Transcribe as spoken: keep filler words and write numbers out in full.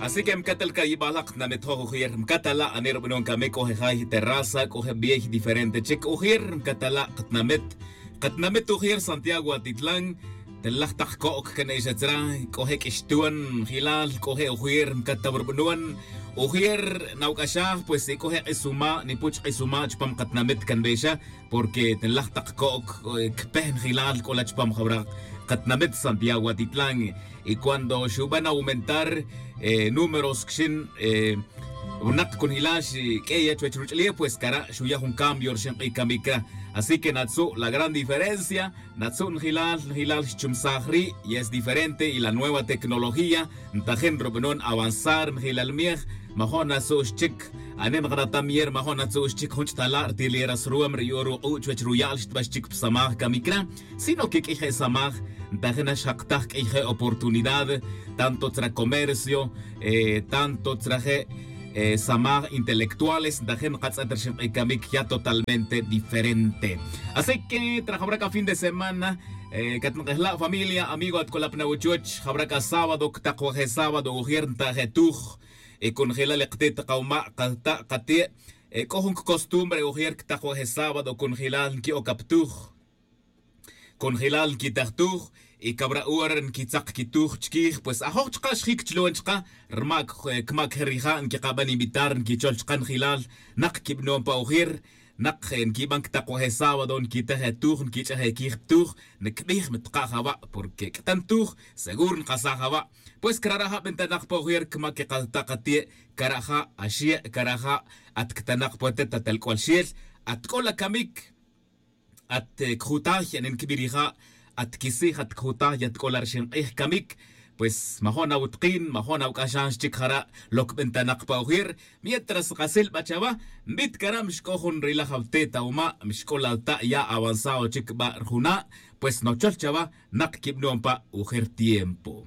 Así que mcatal cayibal la katnamit joj ujier mcatal la anir b'anon camic c'o je jay terraza c'o je b'ey diferente chic ujier mcatal la katnamit. Katnamit ujier santiago atitlan. Telaj tak co'c can exa tzra. C'o je q'uixtuan jilal c'o je ujier mcatal rb'anon. Ujier nawc'axaj pues y c'o je q'uisuma' nipuch q'uisuma' chupam katnamit can bexa. Porque tenlaj tak co'c cpeh njilal c'o la chupam jawra katnamit santiago atitlan. Y cuando xuban aumentar números quixin winak cunjilal xq'ueya chuwech ruch'ulef pues cara' xuya jun cambio rixin k'ij camic cra. Así que natzu' la gran diferencia. Natzu' njilal njilal xchumsaj ri' y es diferente y la nueva tecnología ntajin rub'anon avanzar njilal miej. Majo' natzu' xchic anin nkratam yer majo' natzu' xchic jun ch'tala' rtil yer asruwam ri yu'un ruk'u' chuwech ruya'l xtba xchic pa samaj camic ra. Sino que q'uiy je' samaj ntajin nax jaktaj q'uiy je' oportunidad tanto tzra comercio tanto tzra je' samaj intelectuales ntajin nkatz'et rixin k'ij camic ya totalmente diferente. Así que trajawra c'a fin de semana catnak'ejla' familia amigo atk'olap na wuchuch jawra c'a sábado ctak wa je' sábado ujer nta' je' tuj. Y cunjelal li katit kawma' kata' kati' c'o jun costumbre ujer ctak wa je' sábado cunjelal nqui'oc ap tuj. Cunjelal nquitaj tuj y cawra hora nquitzak quituj chiquij pues ajoj chka' xjic chlon chka'. Rma' cma' queje rija' nquiqaban invitar nquichol chka' njilal nak quibanon pa ujer. Nak nquiban ctak wa je' sábado nquitej e tuj nquich'ej e quij pa tuj. Ncbij mi tka' jaba' porque c'tan tuj seguro nkasaj jaba'. Pues cara' ja' bentanak pa ujer cma' quekata' kate' cara' ja' axie' cara' ja' at ctanak pa te' tatel c'ual xel at c'o la camic. At cjutaj yanin cbirija' at quisij at cjutaj yat c'o la rixin k'ij camic. Pues majo' nawutkin majo' nawc'axan xchic jara' loc bentanak pa ujer. Mientras kasil ba chawa mbit cara' mixc'o jun rilaj awte' ta wuma' mixc'o la ta' ya avanzado chic ba rjuna'. Pues nochol chawa nak quibanon pa ujer tiempo.